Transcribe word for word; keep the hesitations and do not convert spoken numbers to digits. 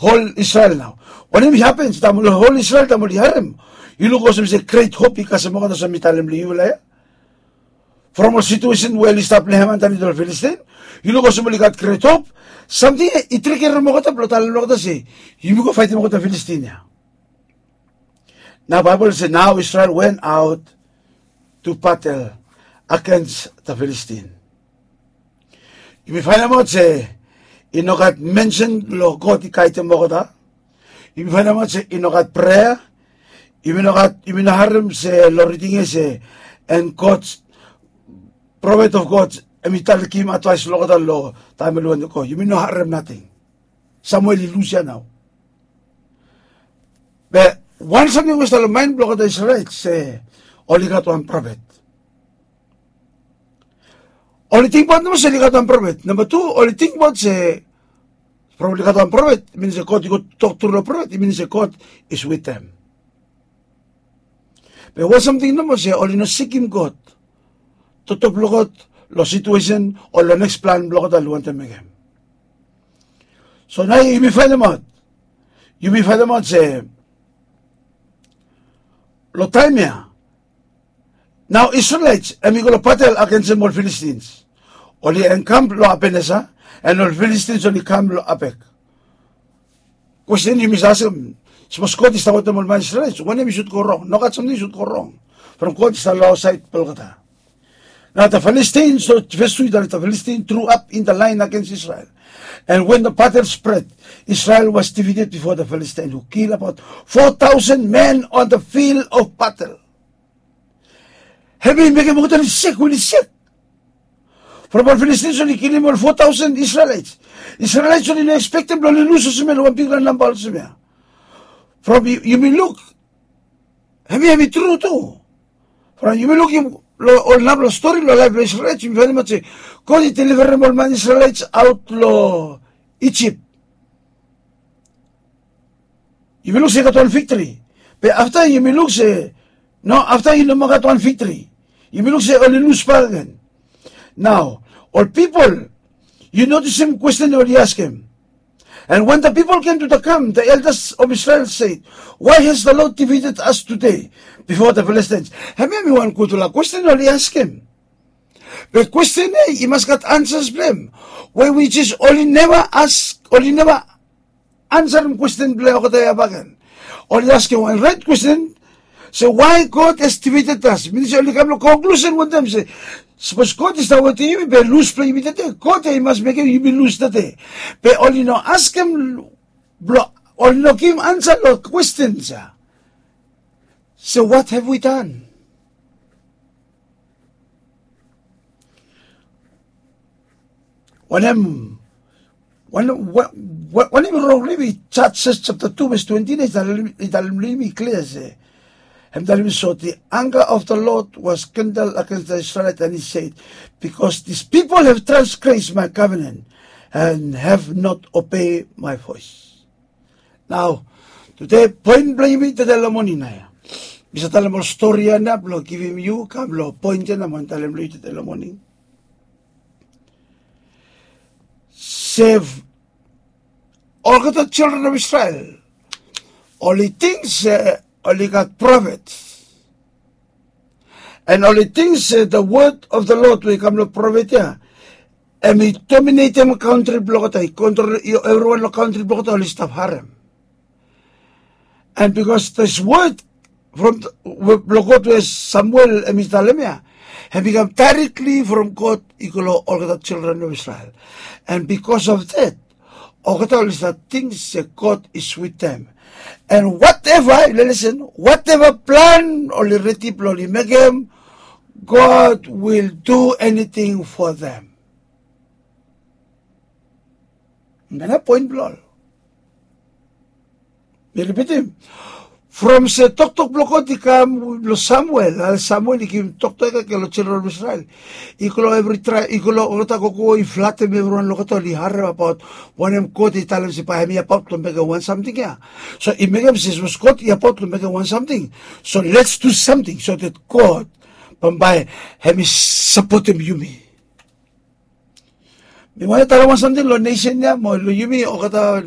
hol Israel nao. Wanem i hapen taem ol hol Israel, taem oli harem? Yu luk olsem se gret hop i kasem olgeta, olsem mi talem long yufala ya. From ol situesen we oli stap long hem antaniet ol Filistin, yu luk olsem oli gat gret hop. Samting ya i trigerem olgeta blong talem long olgeta se, yumi go faetem olgeta Filistin ya. Nao Baebol i se, nao Israel went out to battle against the Philistine. Yumi faenemaot se i no gat mensen long God i gaedem olgeta. Yumi faenemaot se i no gat prea. Yumi no gat, yumi no harem se long riding ya se, and God, prophet of God, hemi talem, givim advaes long olgeta long taem oli wantem go. Yumi no harem nating. Samuel i lus ya nao. Be wan samting we i stap long maen blong olgeta Israel se oli gat wan prophet. Oli tingbaot nomo se oli gat wan prophet. Namba tu, oli tingbaot se from oli gat wan prophet, i min se God i go tok tru long prophet, i min se God is with them. Be wan samting nomo se oli no sikim God. Toktok blong God long situesen o long neks plan blong olgeta oli wantem mekem. So nao yumi faenemaot, yumi faenemaot se long taem ya, nao Israelites hemi go long batel agensem ol Philistines. Oli enkamp long Ebeneser, and ol Philistines oli kam long Apek. Kwesten yumi save askem, sapos God i stap wetem ol man Israelites, wanem i sud go rong? Nogat samting i sud go rong from God i stap long saed blong olgeta. Nao the Philistines, so ves tu i talem, the Philistine drew up in the line against Israel. And when the battle spread, Israel was defeated before the Philistine, who killed about four thousand men on the field of battle. Hemi mekem olgeta oli sek, oli sek. From ol Philistines oli kilim ol four thousand Israelites. Israelites oli no ekspektem blong oli lus olsem ya, long wan bigfala namba olsem ya. From yu, yumi luk, hemi, hemi tru tu. From yumi luk, yumi, long ol narafala stori long laef blong Israelites, yumi faenemaot se God i deliverem ol man Israelites aot long Ijip. Yumi luk se i gat wan viktri. Be afta yumi luk se, no, afta i no moa gat wan viktri. Yumi luk se oli lus bakegen. Nao ol pipol, yu notisim kwesten oli askem. And when the people came to the camp, the elders of Israel said, "Why has the Lord defeated us today before the Philistines?" Hemia hemi wan gudfala kwesten oli askem. Be kwesten ya i mas gat ansas blong hem. We which is oli neva as, oli neva ansarem kwesten blong olgeta ya bakegen. Oli askem wan raet kwesten, se why God has defeated us. Minim se oli kam long konklusen wantaem se sapos God i stap wetem yumi, be lus blong yumi tede, God ya i mas mekem yumi lus tede. Be oli no askem blong, oli no givim ansa long kwestens ya. So what have we done? Wanem, wanem, wa- wa- wanem i rong long yumi? Judges chapter two verse twenty nine i talem, i talem long yumi klia se, hem talem yumi, so the anger of the Lord was kindled against the Israelites, and he said, "Because these people have transgressed my covenant and have not obeyed my voice." Nao, tede poen blong yumi tede long moning nao ya, mi save talem ol stori ya nao blong givim yu kam long poen ya nao mi wantem talem long yu tede long moning. Se olgeta children of Israel oli ting se oli gat prophet. And oli ting se the word of the Lord we i kam long prophet ya, hemi dominatem kantri blong olgeta, i kontrol evriwan long kantri blong olgeta, oli stap harem. And because this word from the, blong God we Samuel hemi talem ya, hemi kam directly from God i go long olgeta children of Israel. And because of that, olgeta oli stap ting se God is with them. And whatever, listen, whatever plan oli redi blong oli mekem, God will do anything for them. Hemia nao poen blong ol. Mi ripitim. From se toktok blong God i kam long Samuel, a Samuel i givim toktok ya long children of Israel. I go long evri traeb, i go long olgeta gogo, i flatem evriwan long olgeta oli harem abaot wanem God i talem se bae hemi abaot long mekem wan samting ya. So i mekem se sapos God i abaot long mekem wan samting, so let's do something so that God bambae hemi sapotem yumi. Mi wantem talem wan samting long nesen ya mo long yumi olgeta